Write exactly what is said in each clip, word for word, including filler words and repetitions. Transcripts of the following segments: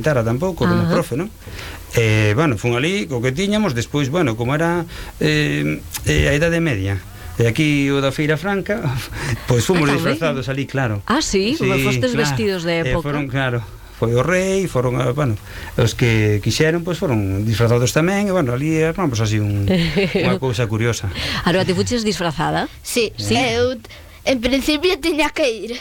tampouco como Ajá. profe, non? Eh, bueno, fun ali co que tiñamos, despois, bueno, como era eh, eh, a idade media, e aquí o da Feira Franca, pois fomos Ah, disfrazados ali, claro. Ah, sí, Sí, fostes claro. vestidos de Eh, época. foron, claro, foi o rei, foron, ah, bueno, os que quixeron, pois foron disfrazados tamén, e bueno, ali armamos así un, unha cousa curiosa. Aroa, ti fuches disfrazada? Sí, Sí. eu en principio tiña que ir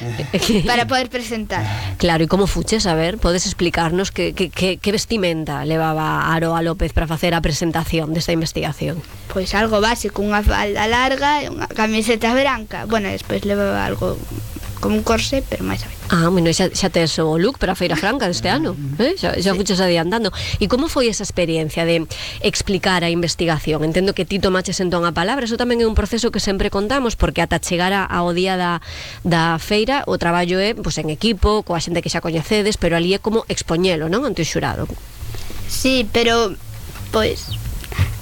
para poder presentar. Claro, e como fuches? A ver, podes explicarnos que, que, que, que vestimenta levaba Aroa López para facer a presentación desta investigación? Pois algo básico, unha falda larga e unha camiseta branca. Bueno, despois levaba algo como un corsé, pero máis a ver. Ah, bueno, xa, xa tes o look para a Feira Franca deste ano, eh? xa, xa fuches adiantando. E como foi esa experiencia de explicar a investigación? Entendo que ti tomaches entón a palabra, eso tamén é un proceso que sempre contamos, porque ata chegar a, ao día da, da feira, o traballo é pois, en equipo, coa xente que xa coñecedes, pero ali é como expoñelo, non? Ante o xurado. Sí, pero pois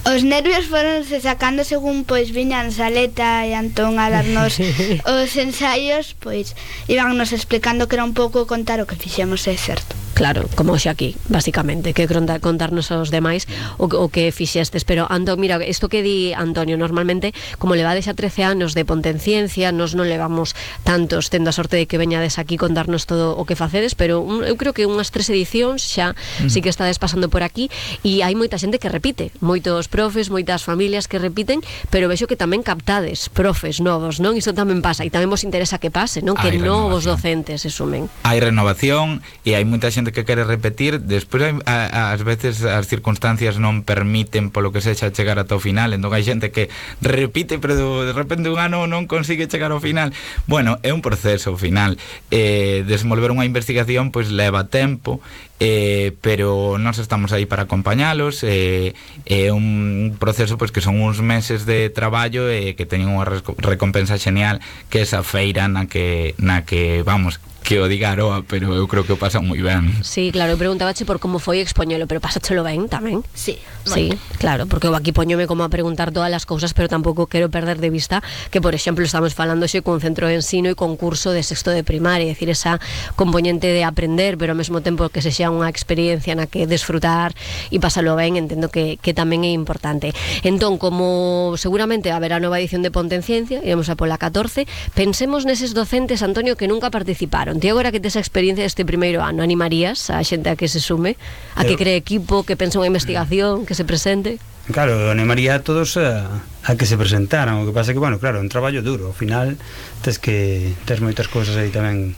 os nervios foronse sacando según pois viñan Saleta e Antón a darnos os ensaios, pois íbannos explicando que era un pouco contar o que fixemos, é certo. Claro, como hoxe aquí, basicamente, que conta, contarnos aos demais o, o que fixestes. Pero, Antón, mira, isto que di Antonio, normalmente, como levades xa trece anos de Ponte en Ciencia, nos non levamos tantos, tendo a sorte de que veñades aquí contarnos todo o que facedes, pero un, eu creo que unhas tres edicións xa mm. sí que estades pasando por aquí, e hai moita xente que repite, moitos profes, moitas familias que repiten, pero vexo que tamén captades profes novos, non? Iso tamén pasa, e tamén vos interesa que pase, non? Que Hai novos renovación. docentes se sumen. Hai renovación e hai moita xente que quere repetir, despois hai, a, ás veces as circunstancias non permiten polo que sexa chegar ata o final, entón hai xente que repite pero de repente un ano non consigue chegar ao final. Bueno, é un proceso ao final, eh, desenvolver unha investigación pois leva tempo, eh, pero nós estamos aí para acompañalos, é eh, un proceso pois que son uns meses de traballo e eh, que teñen unha recompensa genial, que é esa feira na que, na que vamos, que o diga Aroa, pero eu creo que o pasa moi ben. Sí, claro, eu preguntabache por como foi expoñelo, pero pásachelo ben tamén. Sí, Sí, claro, porque eu aquí poñome como a preguntar todas as cousas, pero tampouco quero perder de vista que, por exemplo, estamos falando xe cun centro de ensino e concurso de sexto de primaria, é dicir, esa componente de aprender, pero ao mesmo tempo que se xa unha experiencia na que desfrutar e pasalo ben, entendo que, que tamén é importante. Entón, como seguramente haberá nova edición de Ponte en Ciencia, íamos a pola catorce, pensemos neses docentes, Antonio, que nunca participaron. Ti agora que tes a experiencia deste primeiro ano, animarías a xente a que se sume, a que cree equipo, que pense unha investigación, que se presente? Claro, animaría a todos a, a que se presentaran. O que pasa é que, bueno, claro, é un traballo duro. Ao final, tes que tes moitas cousas aí tamén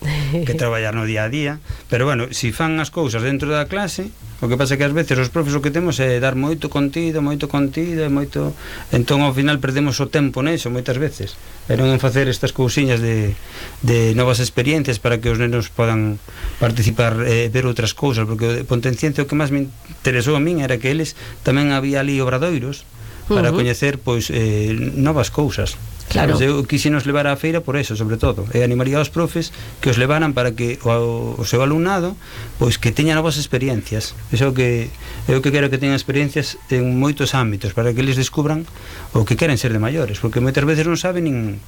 que traballar no día a día. Pero, bueno, se si fan as cousas dentro da clase, o que pasa é que ás veces os profes o que temos é dar moito contido, moito contido e moito... Entón, ao final, perdemos o tempo neso moitas veces. E non en facer estas cousiñas de, de novas experiencias para que os nenos podan participar e eh, ver outras cousas, porque o Ponte en Ciencia o que máis me interesou a min era que eles tamén había ali obradoiros para Uh-huh. coñecer pois eh, novas cousas. Claro. Sabes? Eu quixenos levar á feira por eso, sobre todo, e animaría aos profes que os levaran para que o, o seu alumnado pois que teña novas experiencias. Iso que eu que quero que teñan experiencias en moitos ámbitos para que eles descubran o que queren ser de maiores, porque moitas veces non saben nin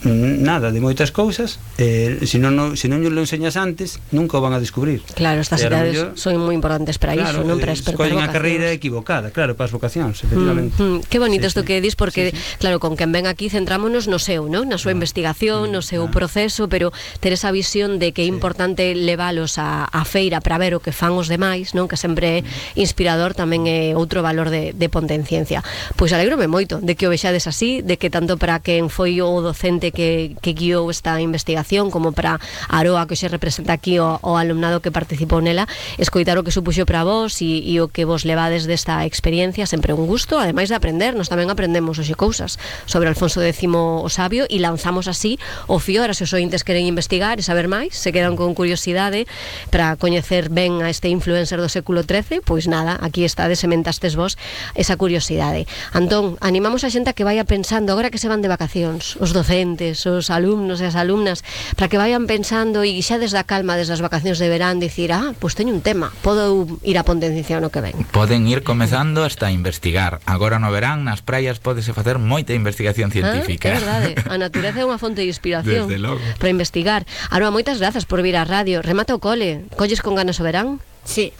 nada de moitas cousas, eh, se non no, se non lo enseñas antes nunca o van a descubrir. Claro, estas E a lo idades mellor, son moi importantes para claro, iso, non? Para eh, despertar escollen a vocacións. carreira equivocada, claro, para as vocacións, efectivamente. Mm, mm, que bonito Sí, isto sí. que dis, porque Sí, sí. claro, con quen ven aquí centrámonos no seu, non? Na súa Ah, investigación, no seu ah. proceso, pero ter esa visión de que é Sí. importante leválos a, a feira para ver o que fan os demais, non? Que sempre é inspirador, tamén é outro valor de, de Ponte en Ciencia. Pois alégrome moito de que o vexades así, de que tanto para quen foi o docente que, que guiou esta investigación como para Aroa, que se representa aquí o, o alumnado que participou nela, escoitar o que supuxo para vos e, e o que vos levades desta experiencia, sempre un gusto, ademais de aprender. Nos tamén aprendemos hoxe cousas sobre Alfonso X o Sabio e lanzamos así o fío. Ahora, se os ointes queren investigar e saber máis, se quedan con curiosidade para coñecer ben a este influencer do século trece, pois nada, aquí estades, sementastes vos esa curiosidade. Antón, animamos a xente a que vaya pensando agora que se van de vacacións, os docentes, os alumnos e as alumnas, para que vayan pensando e xa desde a calma, desde as vacacións de verán, dicir, ah, pois teño un tema, podo ir a Ponte en Ciencia no que ven. Poden ir comezando hasta investigar. Agora no verán, nas praias pódese facer moita investigación científica. Ah, é verdade, a natureza é unha fonte de inspiración. Desde logo. Para investigar. Aroa, moitas grazas por vir á radio. Remata o cole. Colles con ganas o verán? Sí.